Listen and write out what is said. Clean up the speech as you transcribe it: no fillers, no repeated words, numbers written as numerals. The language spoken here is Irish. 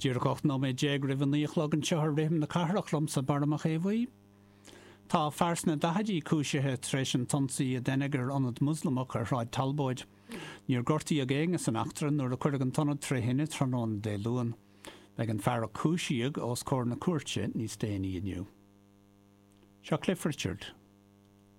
Díreach 18 nóiméad roimh a 9 a chlog anseo ar Rithim na Cathrach liomsa Barra Mac Aodha Bhuí. Tá fear sna daichidí cúisithe tar éis an t-ionsaí a deineadh ar ionad Moslamach ar Shráid Talbóid. Níor gortaíodh éinne san eachtra nuair a cuireadh an t-ionad tré thine tráthnóna Dé Luain. Beidh an fear a cúisíodh os comhair na cúirte níos déanaí inniu. Seo Cliff Richard.